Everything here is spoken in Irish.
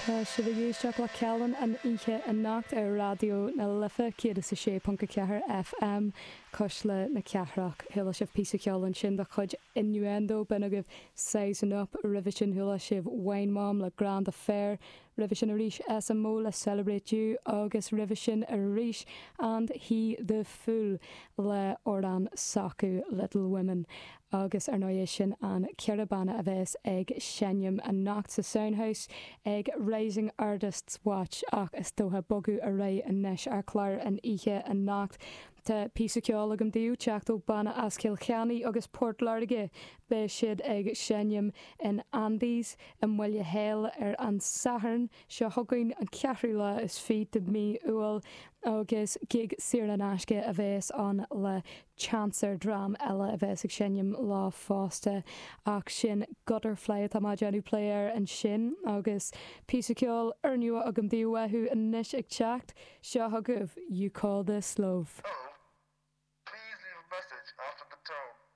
Tá sibh ag éisteacht le Cailean an oíche anocht ar Raidió na Life 106.4 FM, Cuisle na Cathrach. Chuala sibh píosa ceoil ansin de chuid Innuendo, b'in agaibh Sizing Up. Roimhe sin chuala sibh Wine Mom le Grand Affair. Roimhe sin arís SMO le Celebrate You agus roimhe sin arís And He The Fool le amhrán s'acu Little Women. Agus ar ndóigh sin an 4 banna a bheas ag seinm anocht sa Soundhouse ag Rising Artists Watch ach is dócha bogadh ar aghaidh anois ar chlár an oíche anocht. Tá píosa ceoil agam daoibh teacht ó banna as Cill Chainnigh agus Port Láirge. Beidh siad ag seinm in Andy's i mBaile Héil ar an Satharn seo chugainn, an ceathrú lá is fiche de mhí Iúil agus gig saor in aisce a bheas ann le seans ar dream eile a bheas ag seinm leo fosta ach sin Gutterfly atá mé ag déanamh plé air ansin agus píosa ceoil úrnua agam daoibh uathu anois ag teacht. Seo chugaibh You Call This Love. Hello. Please leave a message after the tone.